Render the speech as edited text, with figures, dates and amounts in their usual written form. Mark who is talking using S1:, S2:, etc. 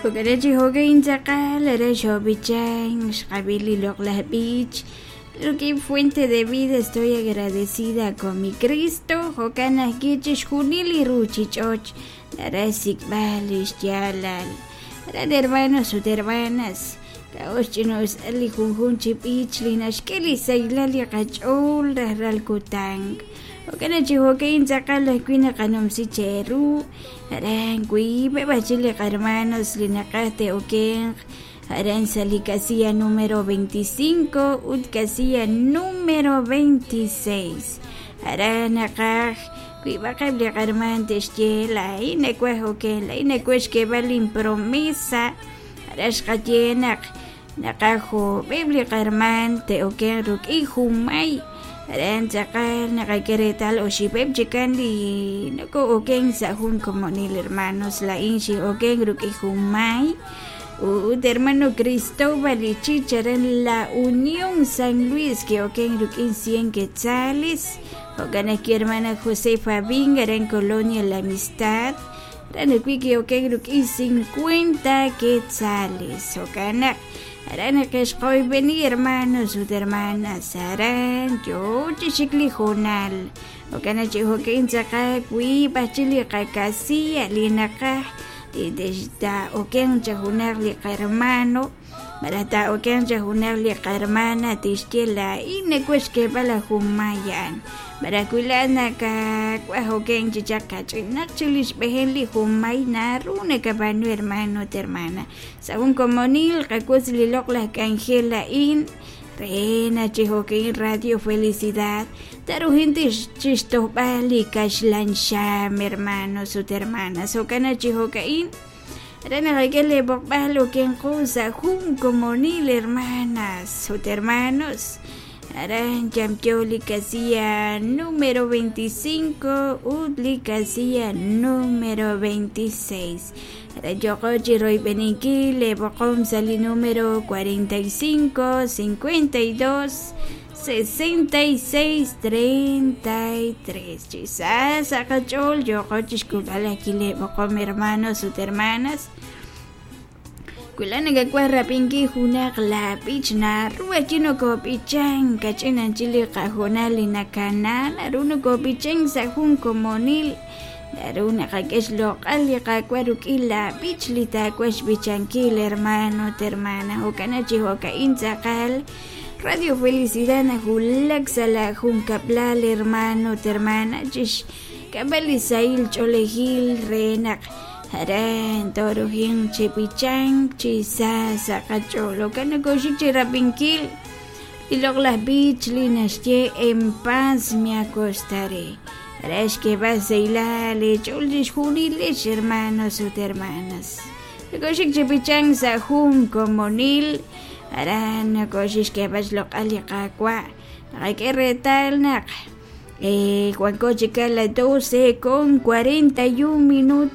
S1: Jo'kan chi jo'kan tz'aqal aran xoob'ichank xqab'i li loq'laj b'ich rik'in Fuente de Vida. Estoy agradecida con mi Cristo. Jo'kan ajwi' chixjunil li ruuchich'och naraj xsik'b'al li xyaalal. Aran hermanos ut hermanas, k'a'ut xch'ina'usal li junjunq chi b'ich li naxk'e li sahilal li qach'ool rajlal kutan. Jo'kan chi jo'kan tz'aqal ajwi' naqanumsi cheeru. Aran wiib'eb' ajwi' li qahermanos li naqaj te'okenq aran sa' li casilla número 25 ut casilla número 26. Aran naqaj wiib'aqeb' li qahermaan te'xye: "Laa'in nawaj okenk, laa'in nawaj xk'eeb'al linpromesa." Aran xqaye naq naqaj joob'eb' li qahermaan te'okenq rik'in junmay. Aran tz'aqal naqak'e reetal oxib'eb' chikan li noko'okenk sa' jun komonil, hermanos. Laa'in xin'okenk rik'in junmay ut hermano Cristóbal Ichich aran La Unión San Luis ki'okenk rik'in 100 quetzales. Jo'kan ajwi' hermana Josefa Ving aran Colonia La Amistad aran ajwi' ki'okenk rik'in 50 quetzales. Jo'kan naq aran naqexqoyb'eni, hermanos ut hermanas, aran yoo chi xik li hoonal. Jo'kan naq chi jo'kan tz'aqal wiib' ajwi' li qakasilla li naqaj taa'okenq cha junaq li qahermano malaj taa'okenq cha junaq li qahermana tixye: "Laa'in nawaj xk'eeb'al a junmay a'an." Malaj wi laa'at nakawaj okenk chi chaq kach'inaq chik li xb'ejel li junmay, naru nakab'aanu, hermano ut hermana. Sa' jun komonil qawotz li loq'laj k'anjel a'in re naq chi jo'kan Radio Felicidad taruhin chixtojb'al li kaxlan xam, hermanos ut hermanas. Jo'kan naq chi jo'ka'in re naqak'e li b'oqb'al okenqo sa' jun komonil, hermanas ut hermanos, aran yamyo li casilla número 25 ut li casilla número 26. Aran yoqo chi royb'eninkil li b'oqom sa' li número 45 52 66 33. Chi sa sa' qach'ool yoqo chixk'ulb'al ajwi' li b'oqom, hermanos ut hermanas. Wi laa'at nakawaj rab'inkil junaq laab'ich, naru ajwi' nokob'ichank kach'in anchal li qahoonal li nakana, naru nokob'ichank sa' jun komonil, naru naqak'e xloq'al li Qaawa' rik'in laab'ich li taawaj xb'ichankil, hermano ut hermana. Jo'kan chi jo'ka'in tz'aqal Radio Felicidad nawulak sa' la junkab'lal, hermano ut hermana, chixk'amb'al li sahil ch'oolejil re naq aran torujin chi b'ichank chi sa sa' qach'ool. Jo'kan nokoxik chi rab'inkil li loq'laj b'ich li naxye "En paz me acostaré" re xk'eeb'al sahilal eech'ool chixjunilex, hermanos ut hermanas. Nokoxik chi b'ichank sa' jun komonil, aran nokoxik xk'eeb'al xloq'al li Qaawa'. Naqak'e reetal naq wanko chik a las 12:41.